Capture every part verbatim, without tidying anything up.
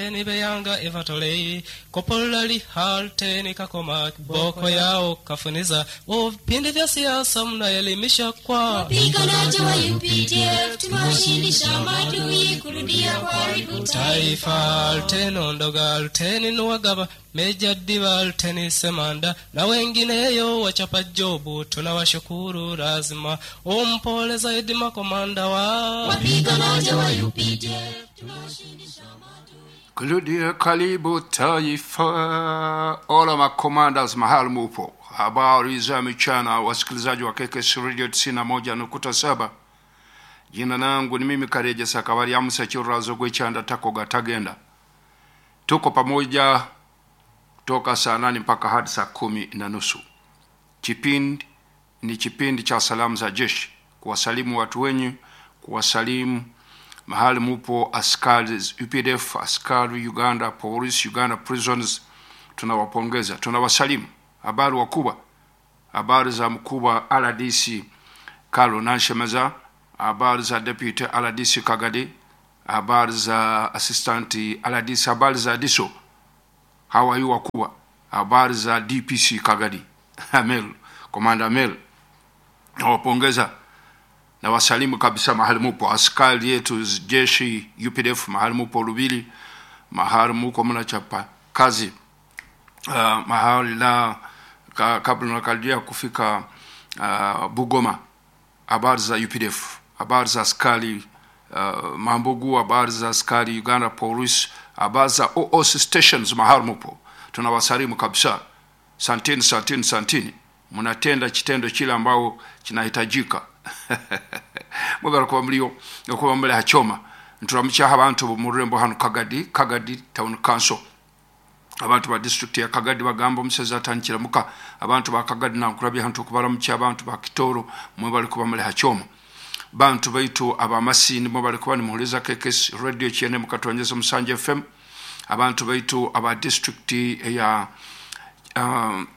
Beyanga Evatolei Kopolali Halteni Kakoma Boko yao kafuniza vipindi vya siasa mnaelimisha kwa Wapiganaji wa U P D F tumewashindisha maadui kurudia kuharibu taifa. Alteni Ndoga, Alteni Nuwagaba, Meja Diba, Alteni Semanda na wengineyo wachapa jobu, tunawashukuru lazima umpole zaidi makomanda wa wapiganaji wa U P D F tumewashindisha maadui. Kurudia karibu taifa. Ola makomandas mahali mupo, habari za michana wasikilizaji wa K K S Radio tisini na moja nukta saba. Jina langu ni mimi Kareje Sakabari Amusa Churazo Gwechanda Takoga Tagenda. Tuko pamoja toka saa nane mpaka hadi saa kumi na nusu. Kipindi ni kipindi cha salamu za jeshi, kuwasalimu watu wenyu, kuwasalimu mahali mupo askari U P D F, askari Uganda Police, Uganda Prisons. Tunawapongeza, tunawasalimu. Habari wakubwa, habari za mkubwa R D C Carlo Nanshemeza, habari za Deputy R D C Kagadi, habari za Assistant R D C, habari za D I S O, hawa yu wakubwa, habari za D P C Kagadi Amel, Commander Amel, nawapongeza na wasalimu kabisa mahali mupo, askari yetu jeshi U P D F mahali mupo Lubili, mahali muko mnachapa kazi, uh, mahali la ka, kabla nakaribia kufika uh, Bugoma. Habari za U P D F, habari za askari uh, Mambugu, habari za askari Uganda Police, habari za O O C stations mahali mupo, tunawasalimu kabisa. Santini, santini, santini, mnatenda kitendo kile ambao kinahitajika. Mwebale kuba mliyo, kuba mle hachoma. Nturamucha abantu mu rurembo hano Kagadi, Kagadi Town Council. Abantu ba district ya Kagadi bagamba omuseza atandikira muka. Abantu ba Kagadi nankulabye hantu okubalamucha abantu ba Kitoro, mwebale kuba mle hachoma. Bantu baitu abamasini mwebale kuba nimuhuliza K K S Radio K N M Katonyeza Musanje F M. Abantu baitu aba district ya, um,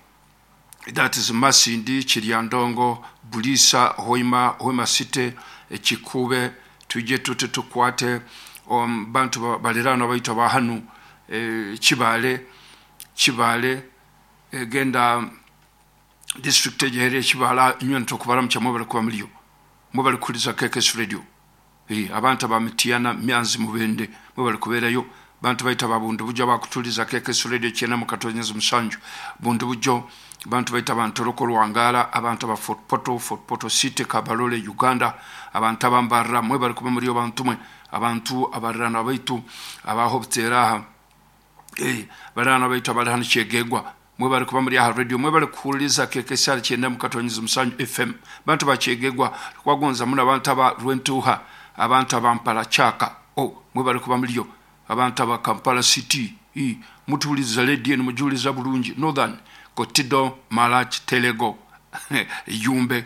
that is Masindi, Kiryandongo, Bulisa, Hoima, Hoima City, Kikube, tuje tute tukwate, um, bantu ba-, balirano baitwa ba hanu, eh, Kibale, Kibale, eh, genda district ejehere Kibala, inywe ntokubalamu mwebale kuba muliyo. Mwebale kuliza K K S Radio. Eh, abantu ba Mitiana, Myanzi Mubende, mwebale kubeerayo. Bantu baita ba Bundu Bujo bakutuliza K K S Radio kyenda mu Katonyeza Musanju. Bundu Bujo, bantu baita ba Ntoroko Lwangala, abantu ba Fort Portal, Fort Portal City, Kabarole, Uganda, abantu abambarra, mwebale kuba muliyo bantu mwe, abantu abarana baitu, abahobtera aha. Eh, barana baitu abali hano Kyegegwa, mwebale kuba muri aha radio, mwebale kuwuliriza K K S R kyenda mu Katonyeza Musanju F M. Bantu ba Kyegegwa, twagonza muno abantu aba Rwentuha, abantu abampala Chaka, oh, mwebale kuba muliyo. Abantu aba Kampala City, i, mutuwuliriza radio mujuliza bulungi, Northern, Kotido, Malach, Telego, Yumbe,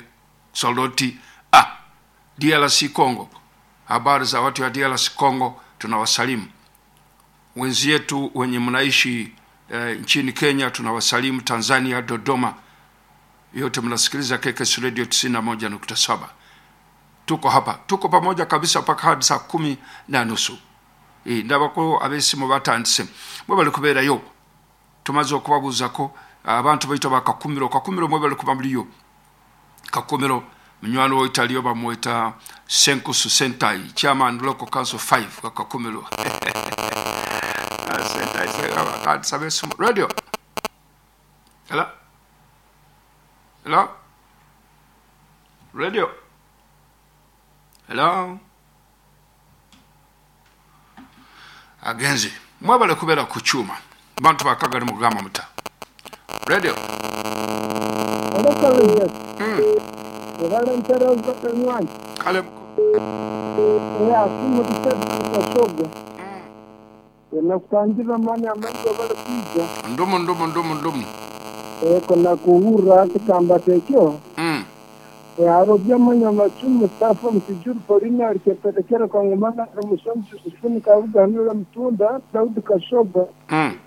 Soloti, ah, D R C Congo. Habari za watu wa D R C Congo, tunawasalimu. Wenzetu wenye mnaishi, eh, nchini Kenya tunawasalimu, Tanzania, Dodoma. Yote mnasikiliza K K S Radio tisini na moja nukta saba. Tuko hapa, tuko pamoja kabisa mpaka hadi saa kumi na nusu. Eh, ndabako abesimu batandise. Mwebale kubeerayo. Tumaze okubabuuzako abantu baitwa ba Kakumiro. Kakumiro mwebale kuba muliyo. Kakumiro munywani wo Italiyo bamweta Senkusu Sentai, chairman local council five wa Kakumiro. Sentai, batandise abesimu. Radio. Hello? Hello? Radio. Hello? Agenzi mwebale kubeera ku kyuma bantu bakagala mugamba muta radio. Kale ndumu ndumu ndumu ndumu Eko nakuhura kikamba tekyo mm. Arobya manya machumu Mustafa Mtijuru Polina alikeperekera kwa ngumana Musonzi Sufuni Kavuga Nula Mtunda Daudi Kashoba mm.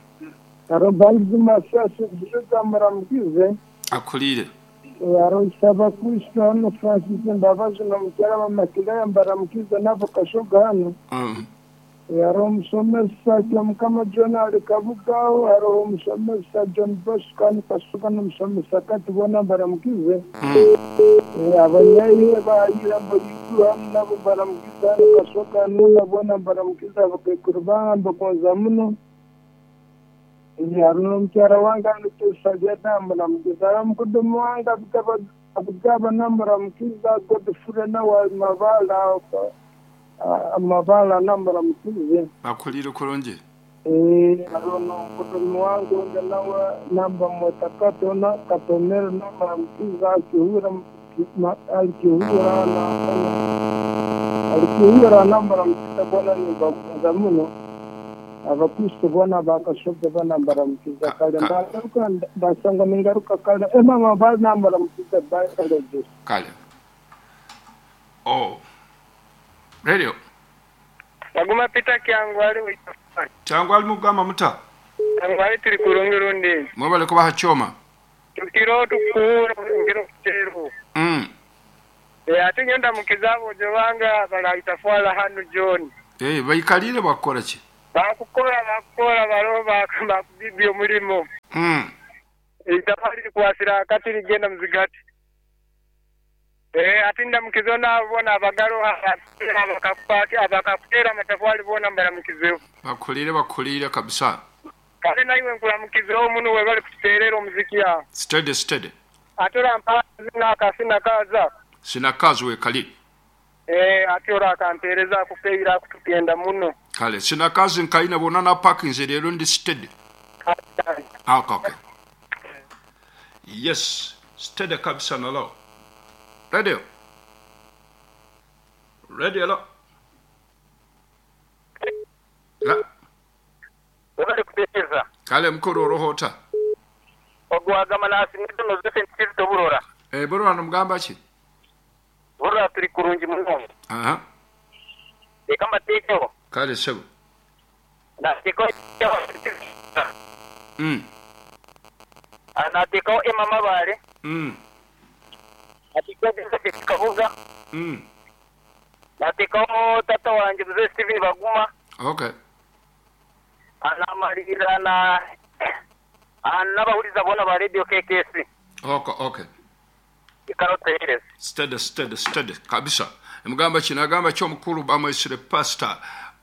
Arobanzi Masasi Zuza Muramukize akulire Arosaba Kristo hano Francis Mbabazi na mukera wa Makilaya Mbaramukize nabo Kashoga hano mm. Hariho omusomesa Kyamukama John ali Kabugaho, hariho omusomesa John Bosco ali Kasuka n'omusomesa Kati boona mbaramukize. Mm. Abanyaire bayira mboyitu hamu nabo mbaramukize hano Kasoga nuna boona mbaramukize abakaikuru bange mbagonza muno. Hariho n'omukyara wange hano Tusalyada mbaramukize, hariho omukudumu wange Abugaba nambaramukiza, Godfrey nawe ali Mabala Amabala nambaramukize. Bakulire kurungi. Hariho n'omukudumu wange onde nawe namba mweta Katona Katomero nambaramukiza akihura alikihuura alikihuura nambaramukiza boona nimbagonza muno. Abakristo boona bakashoga boona mbaramukiza kale mbagaruka mbasanga ningaruka kale emama bali nambaramukiza bali kale. Kale. Oh. Radio. Baguma Peter Kyangwali. Kyangwali mugamba muta. Kyangwali tuli kurungi rundi. Mwebale kubaha choma. Tukiro tukura ngiro kutero. Mm. E ate nyonda mukizabo jowanga balaitafwala hanu John. Eh bayikalire bakora ki? Bakukora bakukora baro bakubibye omulimo. Mm. Itafali kwasira kati ligenda muzigati. Eh atinda mukizona bona abagaro abakakupati abakakutera amatafali bona mbara mukizeho. Bakulire bakulire kabisa. Kale naiwe nkula mukizeho muno we bali kuterera omuziki ya. Steady steady. Atora mpazi kasina kaza. Sina kazi we kali. Eh atora akantereza kupeira kutugenda muno. Kale sina kazi nkaina bona na parking rero ndi steady. Ah okay, okay. Yes, steady kabisa nalo. Radio. Radio lo. La. Wabali kutekereza. Kale mukuru rohota. Ogwaga manasi nitono zose ntikito burora. Eh burora nomugamba ki? Burora turi kurungi muno. Aha. Eka mateko. Kale sebo. Nateko. Mm. Anateko emama bare. Mm. Atiko Kabuga. Mm. Nateko tata wanje mzee Steven Baguma. Okay. Anamalira na anabahuriza bona ba radio K K S. Okay, okay. Ikaroteres. Steady steady steady kabisa. Mugamba kinagamba cyo mukuru bamwesire pastor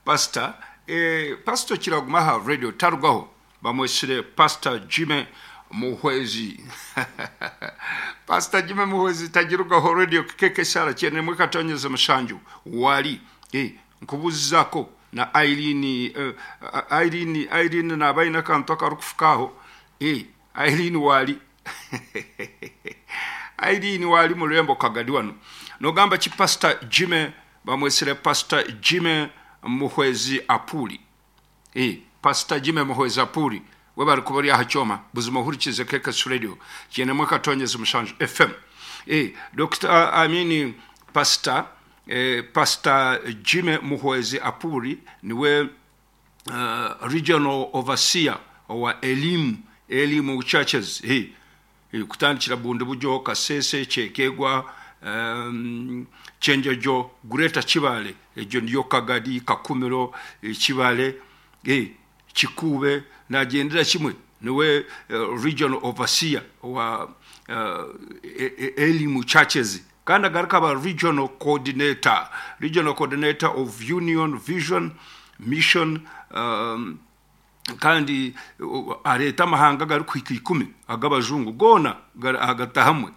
pastor eh pastor kiraguma ha radio tarugaho bamwesire pastor Jimmy Muhwezi. Pastor Jimmy Muhwezi tagirugaho radio K K S cyene mwekatonyeze mushanju wali eh nkubuzako na Irene uh, Irene Irene na bayina kanto karukufukaho eh Irene wali Irene wali mulembo kagadi wano nogamba ki Pastor Jimmy bamwesire Pastor Jimmy Muhwezi Apuli eh Pastor Jimmy Muhwezi Apuli webari kubari ahachoma buzima hurikize K K S radio cyene mwekatonyeze mushanju F M eh Doctor I mean Pastor eh, Pastor Jimmy Muhwezi Apuri niwe uh, regional overseer wa elimu elimu churches eh hey, kutandikira bundu bujo Kasese Chekegwa um, Chenjojo Greater Chibale ejo ndiyo Kagadi Kakumiro e, Chibale eh Chikube nagendera kimwe niwe uh, regional overseer wa uh, elimu churches kandi agaruka ba regional coordinator regional coordinator of Union Vision Mission um, kandi uh, areta amahanga gari kwika ikumi agabajungu gona agatahamwe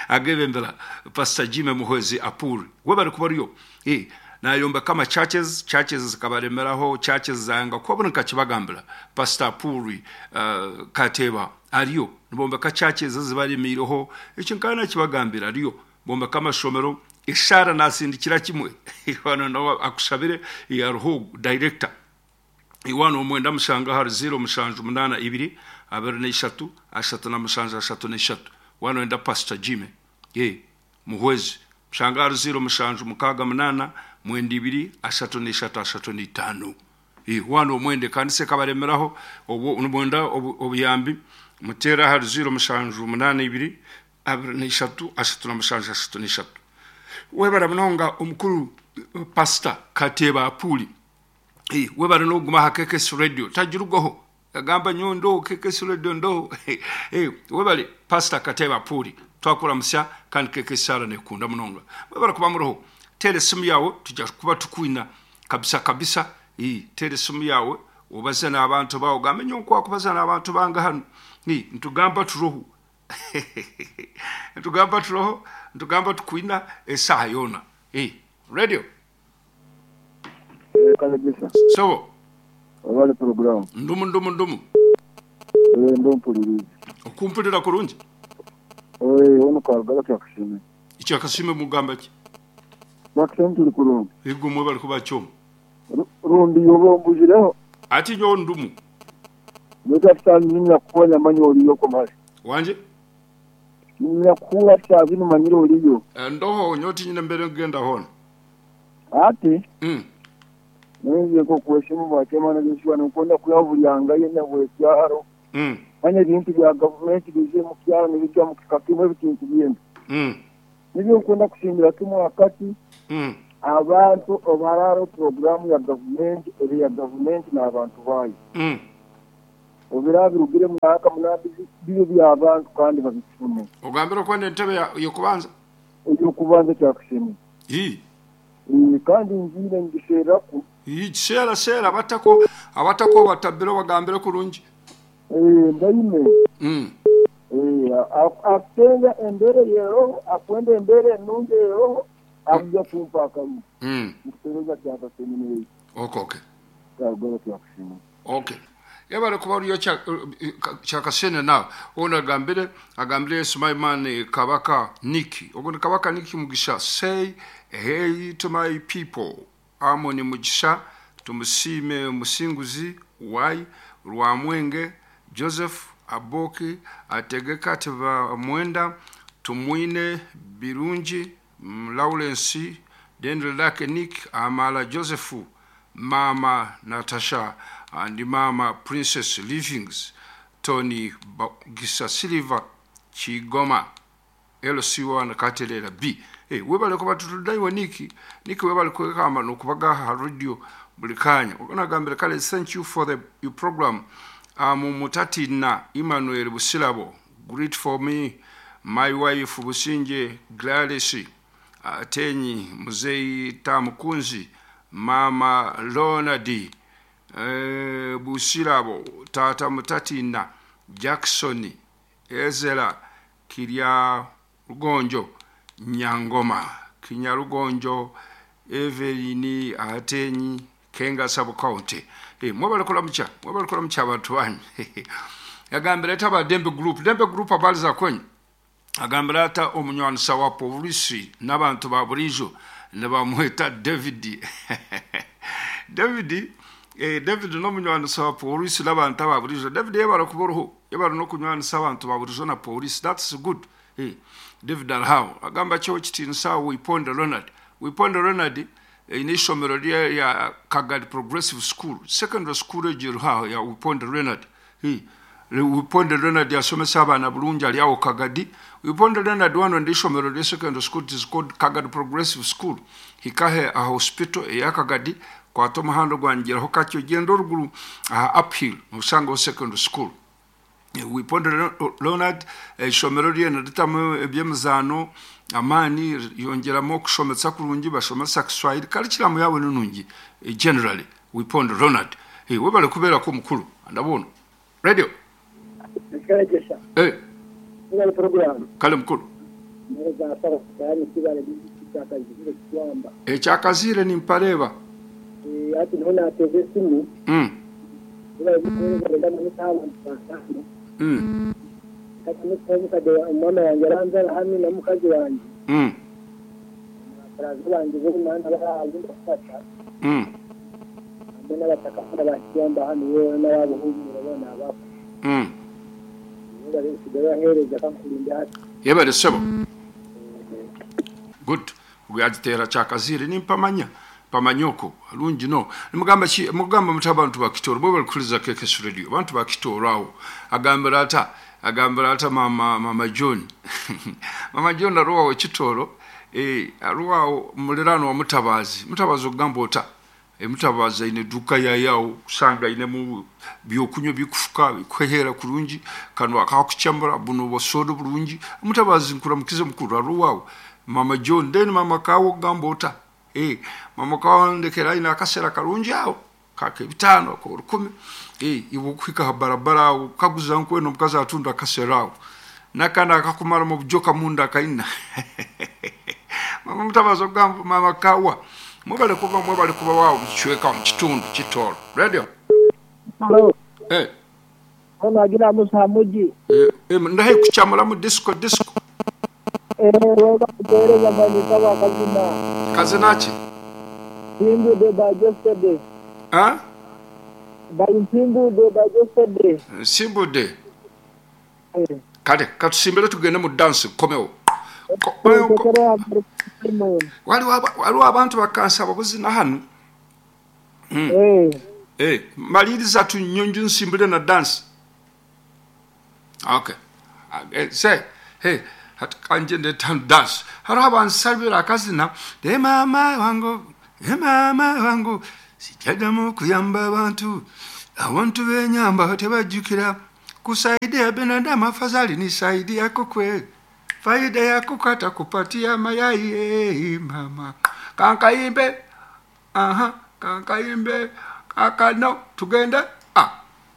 agebembera Pastor Jimmy Muhwezi Apuri we bari kubariyo eh nayomba kama churches churches zikabaremeraho churches zanga kwabona kachibagambira Pastor Apuri uh, Kateba ariyo nibomba ka churches zibaremireho icyo nkana kibagambira ariyo bomba kama shomero ishara nasindikira kimwe hano no akushabire ya ruhu director iwano omwenda mushanga hari zero mushanju munana ibiri abiri n'eshatu ashatu na mushanju ashatu n'eshatu wano enda Pastor Jimmy eh Muhwezi mushanga hari zero mushanju mukaga munana mwenda ibiri ashatu n'eshatu ashatu n'itano eh wano omwende kandi se kabaremeraho obwo mwenda obuyambi mutera hari zero mushanju munana ibiri abiri n'eshatu ashatu na mushanju ashatu n'eshatu webara munonga omukuru Pastor Kateba Apuli Eh, webale n'oguma ha K K S Radio tagirugaho agamba nyo ndo K K S Radio ndo. Eh, webale Pastor Kateba Puri twakuramusya kandi K K S R nekunda munonga. Webale kuba muroho tere simu yawe tujja kuba tukwina kabisa kabisa. Eh, tere simu yawe obaze n'abantu bawo gambe nyo nkwakubaza n'abantu banga hano. Ni ntugamba turoho ntugamba turoho ntugamba tukwina esaha yona. Eh, radio Kalagisa. So Wale program. Ndumu ndumu ndumu. Eh ndompuliriza. Okumpulira kurungi. Eh ono karagala kyakashime. Ikyakashime mugamba ki? Bakashime tuli kurungi. Igumwe bali kuba kyomu. Rundi yobombujireho. Ati nyo ndumu. Ndakafanya nina kukonya manyo oliyo komali. Wanje? Nina kuwa chazini manyiro oliyo. Ndoho nyoti nyine mbere ngenda hono. Ati? Mm. Neze ko kuheshimu bakema na Joshua nukonda kuyavulyanga yena bwekyaro. Mm. Manya bintu bya government bize mu kyaro n'ibijya mu kikakimwe bitintu byembi. Mm. Nibyo nkonda kushimira kimwe wakati. Mm. Abantu obararo programu ya government eri ya government n'abantu bayo. Mm. Obirabirugire mu mwaka munani biyo by'abantu kandi babifune. Ogambira kwenda entebe yokubanza? Yokubanza kyakushimira. Hi. Kandi nzire ngiseraku. Sera sera batako abatako batabiro bagambire kurungi. Eh ndaime. Mm. Eh atenga embere yero akwende embere nunge yero akuja kumpa kamu. Mm. Mkutereza kyaka semine. Okay okay. Kagoro kyakushima. Okay. Yabare kuba yo kyakasene na ona gambire agambire Sumaiman Kabaka Niki. Ogono Kabaka Niki Mugisha say hey to my people. Amoni Mugisha tumusime Musinguzi Y Rwamwenge Joseph Aboki ategeka teba mwenda tumwine Birungi Lawrence Dendrelake Nick Amala Joseph Mama Natasha and Mama Princess Livings Tony Gisa Silver Chigoma L C one Katelera B. Hey, webale kuba tutudaiwe Niki Niki webale kwekamba nokubaga ha radio buli kanya. Ogonagambira kale thank you for the your program. Um, Mutati na Emmanuel Busilabo greet for me my wife Businje Gladys Atenyi Muzei Tamukunzi Mama Lonadi eh, Busilabo Tata Mutati na Jackson Ezra Kirya Rugonjo Nyangoma Kinyarugonjo Evelini Atenyi Kenga sub county. Eh mwabale kulamucha mwabale kulamucha abantu banyu. Yagambira taba Dembe group Dembe group abaliza kwenyu. Agambira ata omunywanisa wa polisi n'abantu ba burijo ne bamweta David. David eh David no munywanisa wa polisi n'abantu ba burijo. David yabara kuboroho yabara no kunywanisa abantu ba burijo na polisi. That's good. Eh David Alhao agamba cyo kitinsa Wiponde Ronald. Wiponde Ronald inishomero ya Kagadi Progressive School secondary school ejiruha ya Wiponde Ronald. Hi Wiponde Ronald yasomesa abana bulungi ali awo Kagadi. Wiponde Ronald wano ndishomero lya secondary school is called Kagadi Progressive School. Hikahe a hospital ya Kagadi kwa tomuhando gwanjiraho kakyo gendo ruguru uh, uphill musango secondary school. Wiponde Ronald ishomero lye nditamu ebyemizano amani yongeramo kushomesa kurungi bashomesa Kiswahili curriculum yawe nungi generally Wiponde Ronald. Hey webale kubera ko mukuru ndabona radio Kalegesha. Eh Kale program kale mukuru neza sara tayari kibale cyakazire kwamba eh cyakazire ni mpareba eh ati nona ateze simu mm Mm. Mama yanjye aranzara hamwe na mukazi wanjye. Mm. Baraza banjye bo mana baraje ndafata. Mm. Hamwe n'abataka n'abakiyamba hano yewe n'ababuhumura bona abapfa. Mm. Bari kusigara bahereza kankurinda hati. Yebare sebo. Good. Ugajitera chakazire nimpamanya. Pamanyoko alungi no nimugamba ki mugamba muta abantu bakitoro bo balikuliza K K S Radio abantu bakitoro awo agambira ata agambira ata mama mama John mama John aruwa kitoro eh aruwa mulirano wa mutabazi mutabazi ogamba ota Emutabazi aine eduka yayawo, kusanga ainemu byokunywa bikufuka bikuhehera kurungi, kanu akakukyamura buno busoda burungi. Mutabazi nkuramukize mukuru aruwawo mama John, then mama kawo gamba ota eh mama kawo ndekera aine akasera karungi awo kake bitano ko rukumi eh iwe kuhika ha barabara awo kaguza nkweno omukazi atunda akasera awo nakana akakumara mu bujoka munda akaina. Mama mutabazi ogamba mama kawa mwebale kuba mwebale kuba wawo mukichweka mu kitundu kitoro radio. Halo. Eh Ono agira musa muji. eh, eh ndahe kuchamura mu disco disco. Eh wega kutereza banyita bakazina. Kazina ki? Simbu de by yesterday. Ah? By Simbu de by yesterday. Simbu de. Eh. Kale katusimbire tugende mu dance komewo. Waliwo waliwo abantu bakansaba buzina hano. Mm. Eh. Eh, maliriza tunyonjo nsimbire na dance. Okay. Eh, say, hey, kanje ndetan dance. Hariho abansabira akazina, de mama wangu, de mama wangu, sijadamu kuyamba abantu, abantu benyamba tebajjukira, kusaidia binadamu afadhali nisaidia kukwe, faida ya kukata kupatia mayai, eh, mama. Kankayimbe, aha, kankayimbe, kakano, tugende.